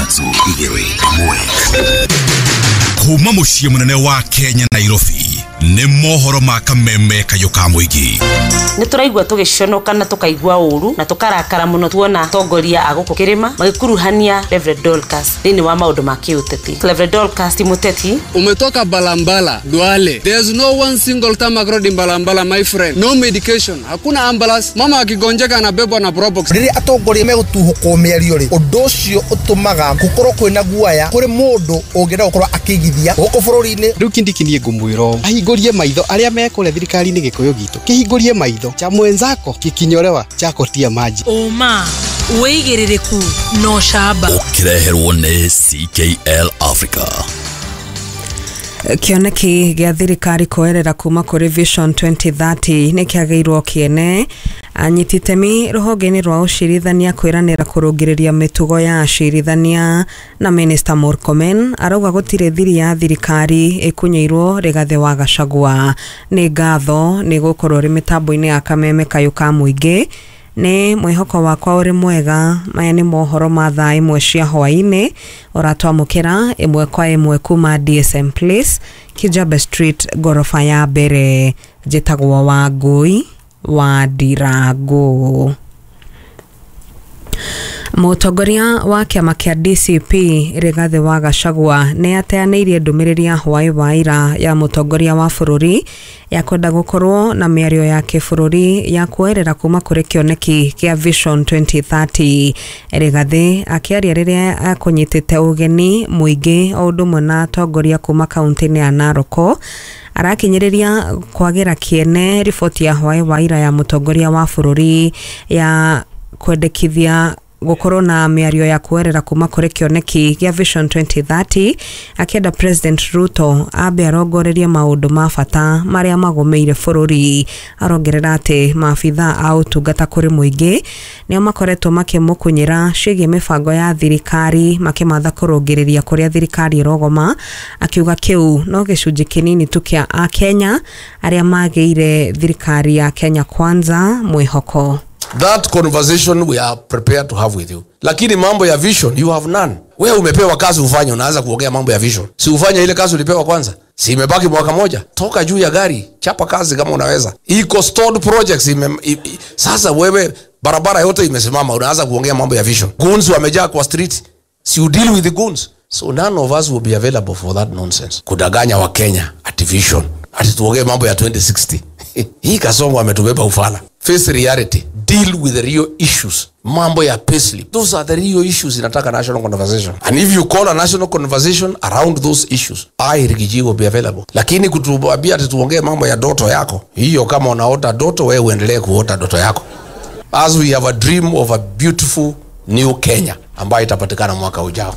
3 2 1. Kuma mũciĩ mũnene wa Kenya Nairobi nĩ mohoro ma kameme kayũ ka mũingĩ. Nĩ tũraigua tũgĩconoka na tũkaigua ũru na tũkarakara mũno tuona atongoria a gũkũ kĩrĩma magĩkuruhania Reverend Dorcas thĩinĩ wa maũndũ ma kĩũteti. Reverend Dorcas ti mũteti. Umetoka Balambala, Duale. There's no one single tarmac road in Balambala, my friend. No medication. Hakuna ambulance. Mama akigonjeka anabebwa na Probox. Rĩrĩa atongoria megũtuhũkwo mĩario rĩ, ũndũ ũcio ũtũmaga gũkorwo kwĩna guaya kũrĩ mũndũ ũngĩenda gũkorwo akĩigithia gũkũ bũrũri-inĩ. Rĩu Kindiki niĩ ngũmwĩra ahingũrie maitho arĩa mekũrĩa thirikari-inĩ gĩkũyũ gitũ kĩhingũrie maitho cha mwenzako kikinyorewa chako tia maji. Ũma wĩigĩrĩrĩku no camba ũkĩreherwo nĩ CKL Africa. Kĩoneki gĩa thirikari kũerera kuma kũrĩ Vision 2030 nĩ kĩagĩirwo kĩene. Anyiti itemi rũhonge-inĩ rwa ũcirithania kwĩranĩra kũrũngĩrĩria mĩtugo ya acirithania na Minister Murkomen arauga gũtirĩ thiri ya thirikari ĩkunyĩirwo Rigathĩ wa Gachagua. Nĩ ngatho nĩ gũkorwo rĩ mĩtambo-inĩ ya kameme kayũ ka mũingĩ. Nĩ mwĩhoko wakwa ũrĩ mwega. Maya nĩ mohoro ma thaa 1 cia hwaĩ-inĩ ũratwamũkĩra 1 kwa 1 kuma DSM Place, Kijabe Street, gorofa ya mbere. Njĩtagwo Wangũi wa Ndirango. Mũtongoria wa kĩama kĩa DCP Rigathĩ wa Gachagua nĩ ateanĩirie ndũmĩrĩri ya hwaĩ wa ira ya mũtongoria wa bũrũri ya kwenda gũkorwo na mĩario ya kĩbũrũri ya kuoerera kuma kũrĩ kĩoneki kĩa Vision 2030. Rigathĩ akĩaria rĩrĩa akũnyitĩte ũgeni mũingĩ o ũndũ ũmwe na atongoria kuma kaunti-inĩ ya Narok arakinyĩrĩria kwagĩra kĩene riboti ya hwaĩ wa ira ya mũtongoria wa bũrũri ya kwendekithia gũkorwo na mĩario ya kuerera kuma kũrĩ kĩoneki gĩa Vision 2030, akĩenda President Ruto ambe arongorerie maũndũ ma bata marĩa magũmĩire bũrũri. Arongerera atĩ maabitha a ũtungata kũrĩ mũingĩ nĩo makoretwo makĩmũkunyĩra ciĩgiĩ mĩbango ya thirikari makĩmatha kũrũngĩrĩria kũrĩa thirikari ĩrogoma, akiuga kĩu no gĩcunjĩ kĩnini tu kĩa Akenya arĩa magĩire thirikari ya Kenya Kwanza mwĩhoko. That conversation we are prepared to have with you. Lakini mambo ya vision you have none. Wewe umepewa kazi ufanye, unaanza kuongea mambo ya vision. Si ufanye ile kazi ulipewa kwanza. Si imebaki mwaka moja. Toka juu ya gari, chapa kazi kama unaweza. Iko stored projects sasa wewe barabara yote imesimama, unaanza kuongea mambo ya vision. Goons wamejaa kwa street. Si you deal with the goons. So none of us will be available for that nonsense. Kudanganya wa Kenya ati vision. Ati tuongee mambo ya 2060. Hii Kasongo ametubeba ufala. Face reality. Deal with the real issues. Mambo ya payslip. Those are the real issues inataka national conversation. And if you call a national conversation around those issues, I, Rigiji, will be available. Lakini kutuambia ati tuongee mambo ya doto yako, hiyo kama unaota doto, wewe uendelee kuota doto yako. As we have a dream of a beautiful new Kenya ambayo itapatikana mwaka ujao.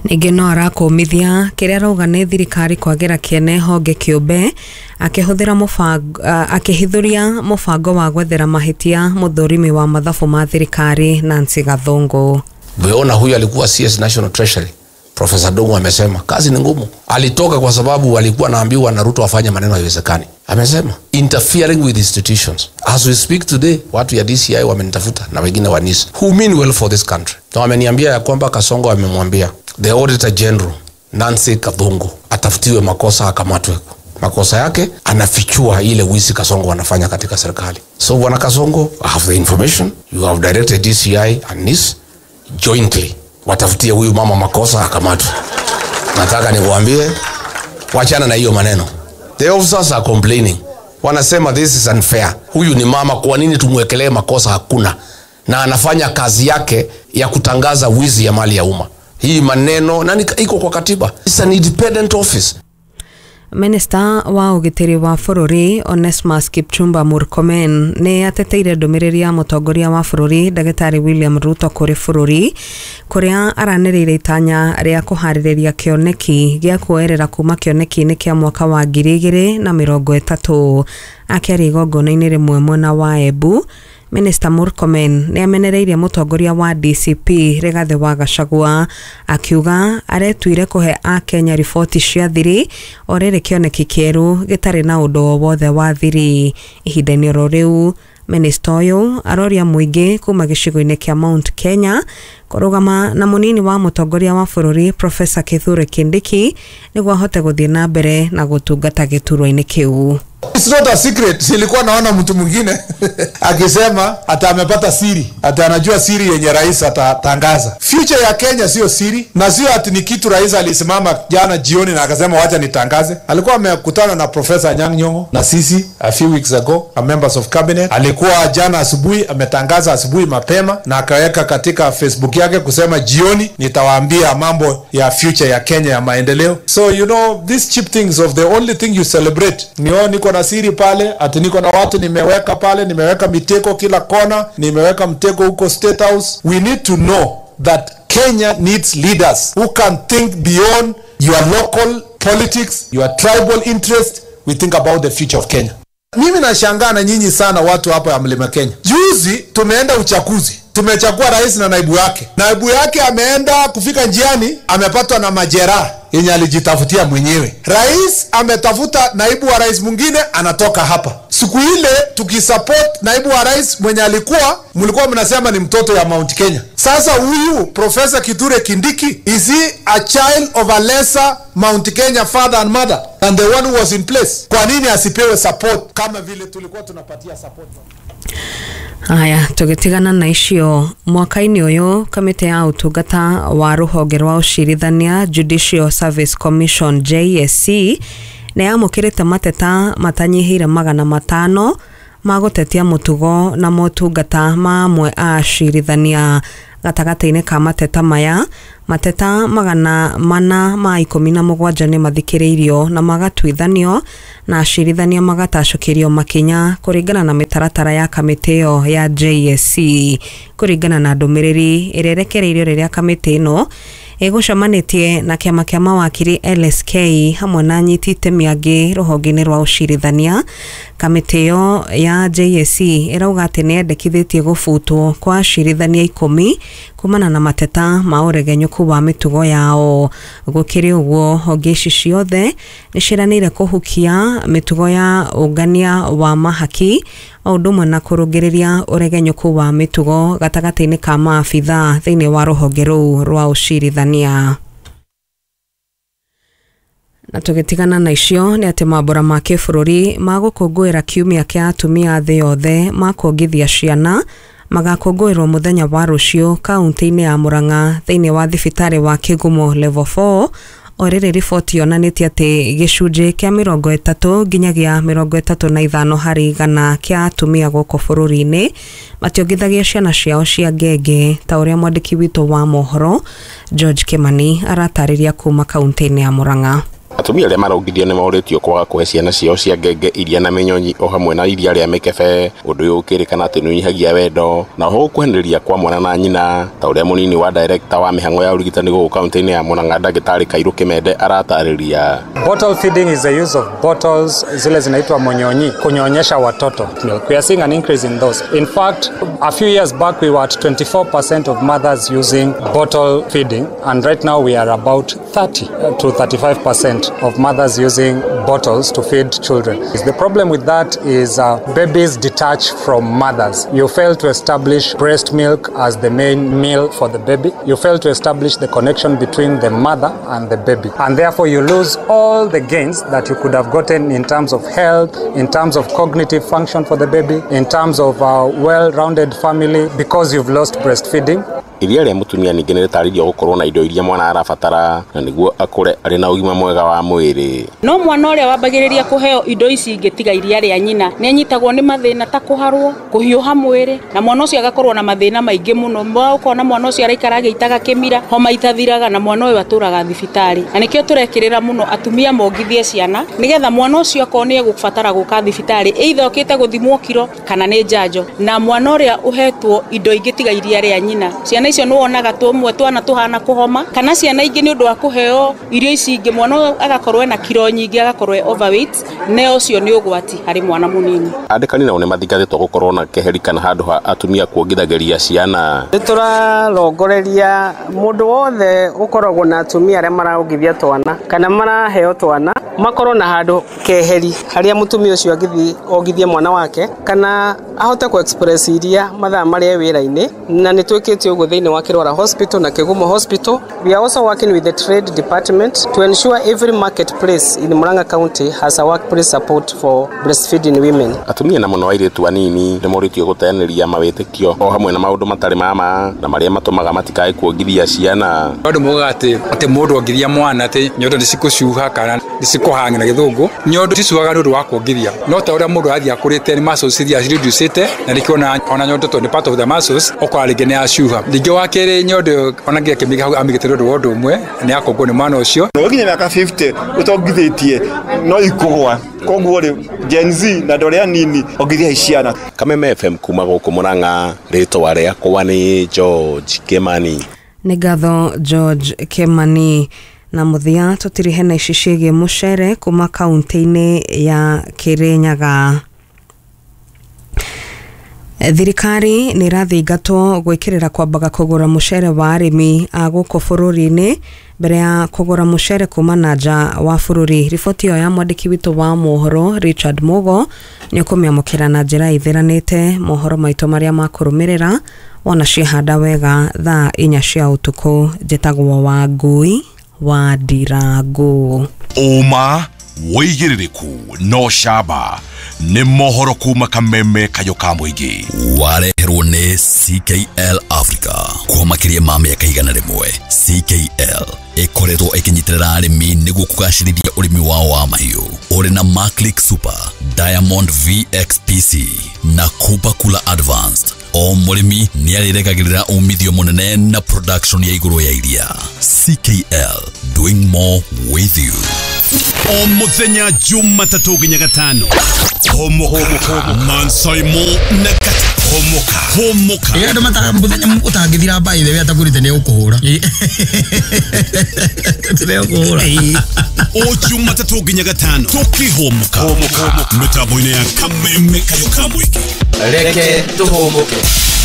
Ningĩ no arakũmithia kĩrĩa arauga nĩ thirikari kwagĩra kĩene honge kĩũmbe akĩhũthĩra mũbango akĩhithũria mũbango wa gwethera mahĩtia mũthũrimi wa mathabu ma thirikari Nancy Gathungu. Umeona huyu alikuwa CS National Treasury Professor Dongo amesema kazi ni ngumu. Alitoka kwa sababu alikuwa anaambiwa na Ruto afanye maneno haiwezekani. Amesema interfering with institutions. As we speak today, watu ya DCI wamenitafuta na wengine wa NIS who mean well for this country. Na wameniambia ya kwamba Kasongo amemwambia the Auditor General Nancy Gathungu atafutiwe makosa akamatwe. Makosa yake anafichua ile wizi Kasongo anafanya katika serikali. So bwana Kasongo, I have the information. You have directed DCI and NIS jointly watafutie huyu mama makosa akamatwe. Nataka nikuambie wachana na hiyo maneno. The officers are complaining. Wanasema this is unfair. Huyu ni mama, kwa nini tumwekelee makosa? Hakuna. Na anafanya kazi yake ya kutangaza wizi ya mali ya umma. Hii maneno nani iko kwa katiba. It's an independent office. Minister wa ũgitĩri wa bũrũri Onesmus Kipchumba Murkomen nĩ ateteire ndũmĩrĩri ya mũtongoria wa bũrũri Ndagĩtarĩ William Ruto kũrĩ bũrũri kũrĩa aranĩrĩire itanya rĩa kũharĩrĩria kĩoneki gĩa kuoerera kuma kĩoneki-inĩ kĩa mwaka wa 2030. Akĩaria igongona-inĩ rĩmwe mwena wa Embu, Minister Murkomen nĩ amenereirie mũtongoria wa DCP Rigathĩ wa Gachagua akiuga aretuire kũhe Akenya riboti cia thiri o rĩrĩ kĩoneki kĩerũ gĩtarĩ na ũndũ o wothe wa thiri. Ihinda-inĩ oro rĩu Minista ũyũ aroria mũingĩ kuma gĩcigo-inĩ kĩa Mount Kenya kũrũgama na mũnini wa mũtongoria wa bũrũri Professor Kithure Kindiki nĩguo ahote gũthiĩ na mbere na gũtungata gĩturwa-inĩ kĩu. It's not a secret. Nilikuwa naona mtu mwingine akisema ata amepata siri, ata anajua siri yenye rais atatangaza. Future ya Kenya sio siri, na sio ati ni kitu rais alisimama jana jioni na akasema wacha nitangaze. Alikuwa amekutana na Professor Anyang' Nyong'o na sisi a few weeks ago, a members of cabinet. Alikuwa jana asubuhi ametangaza asubuhi mapema na akaweka katika Facebook yake kusema jioni nitawaambia mambo ya future ya Kenya ya maendeleo. So you know these cheap things of the only thing you celebrate ni oh, niko na siri pale, ati niko na watu nimeweka pale, nimeweka miteko kila kona, nimeweka mtego huko State House. We need to know that Kenya needs leaders who can think beyond your local politics, your tribal interest. We think about the future of Kenya. Mimi nashangaa na nyinyi sana watu hapa ya Mlima Kenya. Juzi tumeenda uchaguzi, tumechagua rais na naibu yake. Naibu yake ameenda kufika njiani, amepatwa na majeraha yenye alijitafutia mwenyewe. Rais ametafuta naibu wa rais mwingine, anatoka hapa. Siku ile tukisupport naibu wa rais mwenye alikuwa, mlikuwa mnasema ni mtoto ya Mount Kenya. Sasa huyu Professor Kithure Kindiki, is he a child of a lesser Mount Kenya father and mother than the one who was in place? Kwa nini asipewe support kama vile tulikuwa tunapatia support? Haya, tũgĩtigana na icio mwaka-inĩ ũyũ kamĩtĩ ya ũtungata wa rũhonge rwa ũcirithania Judicial Service Commission JSC nĩ yamũkĩrĩte mateta matanyihĩire 500 ma gũtetia mũtugo na motungata ma amwe a acirithania. Gatagatĩ-inĩ ka mateta maya, mateta 417 nĩ mathikĩrĩirio na magatuithanio na acirithania magatacũkĩrio makinya kũringana na mĩtaratara ya kamĩtĩ ĩyo ya JSC. Kũringana na ndũmĩrĩri ĩrĩa ĩrekereirio rĩrĩa kamĩtĩ ĩno ĩgũcemanĩtie na kĩama kĩa mawakiri LSK hamwe na anyiti itemi angĩ rũhonge-inĩ rwa ũcirithania, kamĩtĩ ĩyo ya JSC ĩrauga atĩ nĩ yendekithĩtie gũbutwo kwa acirithania 10 kumana na mateta ma ũregenyũku wa mĩtugo yao. Gũkĩrĩ ũguo, honge ici ciothe nĩ ciĩranĩire kũhukia mĩtugo ya ũngania wa mahaki o ũndũ ũmwe na kũrũngĩrĩria ũregenyũku wa mĩtugo gatagatĩ-inĩ ka maabithaa thĩinĩ wa rũhonge rũu rwa ũcirithania. Na tũgĩtigana na icio nĩ atĩ mambũra ma kĩbũrũri ma gũkũngũĩra kiumia kĩa atumia thĩ yothe ma kuongithia ciana magakũngũĩrwo mũthenya wa rũciũ kaunti-inĩ ya Murang'a thĩinĩ wa thibitarĩ wa Kĩgumo level 4. O rĩrĩ riboti yonanĩtie atĩ gĩcunjĩ kĩa 30 nginyagia 35 harĩ igana kĩa atumia gũkũ bũrũri-inĩ mationgithagia ciana ciao cia ngenge, ta ũrĩa mwandĩki witũ wa mohoro George Kimani aratarĩria kuma kaunti-inĩ ya Murang'a. Atumia arĩa marongithio nĩ morĩtio kwaga kũhe ciana ciao cia ngenge iria na mĩnyonyi o hamwe na iria rĩa mĩkebe, ũndũ ũyũ ũkĩrĩkana atĩ nĩ ũnyihagia wendo na oho gũkuhanĩrĩria kwa mwana na nyina, ta ũrĩa mũnini wa director wa mĩhang'o ya ũrigitani gũkũ kaunti-inĩ ya Murang'a ndagĩtarĩ Kairũ Kĩmende aratarĩria. Bottle feeding is the use of bottles zile zinaitwa monyonyi kunyonyesha watoto milk. We are seeing an increase in those. In fact, a few years back we were at 24% of mothers using bottle feeding, and right now we are about 30 to 35% of mothers using bottles to feed children. The problem with that is babies detach from mothers. You fail to establish breast milk as the main meal for the baby. You fail to establish the connection between the mother and the baby. And therefore you lose all the gains that you could have gotten in terms of health, in terms of cognitive function for the baby, in terms of a well-rounded family, because you've lost breastfeeding. Iria rĩa mũtumia ningĩ nĩ rĩtarĩirio gũkorwo na indo iria mwana arabatara na nĩguo akũre arĩ na ũgima mwega wa mwĩrĩ. No mwana ũrĩa wambagĩrĩria kũheo indo ici ingĩ tiga iria rĩa nyina nĩ anyitagwo nĩ mathĩna ta kũharwo, kũhiũha mwĩrĩ, na mwana ũcio agakorwo na mathĩna maingĩ mũno. Ũkona mwana ũcio araikara agĩitaga kĩmira, homa itathiraga, na mwana ũyũ atũraga thibitarĩ. Na nĩkĩo tũrekĩrĩra mũno atumia mongithie ciana nĩgetha mwana ũcio akorwo nĩ egũbatara gũka thibitarĩ, either okĩte gũthimwo kiro kana nĩ njanjo. Na mwana ũrĩa ũhetwo indo ingĩ tiga iria rĩa nyina, ciana icio nĩ wonaga tũmwe twana tũhana kũhoma, kana ciana ingĩ nĩ ũndũ wa kũheo irio ici ingĩ mwana agakorwo ena kiro nyingĩ, agakorwo e overweight, ne ũcio nĩ ũgwati harĩ mwana mũnini. Andĩkani nao nĩmathingatĩtwo gũkorwo na keheri kana handũ ha atumia kuongithagĩria ciana. Nĩ tũrarongoreria mũndũ wothe ũkoragwo na atumia arĩa maraongithia twana kana maraheo twana makorwo na handũ keheri harĩa mũtumia ũcio angĩthiĩ ongithie mwana wake kana ahote ku express iria mathaa marĩa wĩra-inĩ, na nĩ twĩkĩte ũguo thĩinĩ wa Kĩrwara Hospital na Kĩgumo Hospital. We are also working with the trade department to ensure every marketplace in Murang'a County has a workplace support for breastfeeding women. Atumia na mũno airĩtu anini nĩ morĩtio gũteanĩria mawĩtĩkio o hamwe na maũndũ matarĩ ma ma na marĩa matũmaga matikae kuongithia ciana. Andũ moigaga atĩ mũndũ ongithia mwana atĩ nyondo nĩ cikũcuha kana nĩ cikũhang'ana na gĩthũngũ. Nyondo cicuhaga nĩ ũndũ wa kuongithia, no ta ũrĩa mũndũ athiĩ akũrĩte nĩ muscles iria cireducĩte na nĩkĩo ona nyondo tondũ nĩ part of the muscles ũkora rĩngĩ nĩ yacuha. Rĩngĩ wa kerĩ nyondo ona nginya kĩmĩga hau amĩgĩte nĩ ũndũ wa ũndũ ũmwe nĩ yakũngwo nĩ mwana ũcio. No nginya mĩaka 50 ũtongithĩtie no ikũgwa, koguo rĩ Gen Z na andũ arĩa anini ongithiai ciana. Kameme FM kuma gũkũ Murang'a, rĩtwa rĩakwa nĩ George Kimani. Nĩ ngatho George Kimani. Na mũthia tũtirihe na ici ciĩgiĩ mũcere kuma kaunti-inĩ ya Kirinyaga. Thirikari nĩ ĩrathingatwo gwĩkĩrĩra kwambaga kũgũra mũcere wa arĩmi a gũkũ bũrũri-inĩ mbere ya kũgũra mũcere kuma na nja wa bũrũri. Riboti ĩyo ya mwandĩki witũ wa mohoro Richard Mugo nĩ ũkũmĩamũkĩra na njĩra ĩtheranĩte mohoro maitũ marĩa makũrũmĩrĩra wona ciahanda wega thaa 4 cia ũtukũ. Njĩtagwo Wangui wa Ndirangu. Ũma wĩigĩrĩrĩku no camba nĩ mohoro kuma Kameme kayũ ka mũingĩ. Wareherwo nĩ CKL Africa kwa makĩria ma mĩaka 100. CKL ĩkoretwo ĩkĩnyitĩrĩra arĩmi nĩguo kũgacĩrithia ũrĩmi wao wa mahiũ. Ũrĩ na Maclick Super, Diamond VXPC na Cooper Cooler Advanced. O mũrĩmi nĩ arĩregagĩrĩra umithio mũnene na production ya igũrũ ya iria. CKL, doing more with you. O mũthenya Jumatatũ nginya Gatano. Homoka Mansaimo na Homoka Homoka. Ĩĩ andũ mataga mũthenya ũtangĩthira by the way atagũrĩte nĩ ũkũhũra. Nĩ ũkũhũra. O Jumatatũ nginya Gatano tũkĩhomoka mĩtambo-inĩ ya Kameme kayũ ka mũingĩ. Reke tũhũmũke.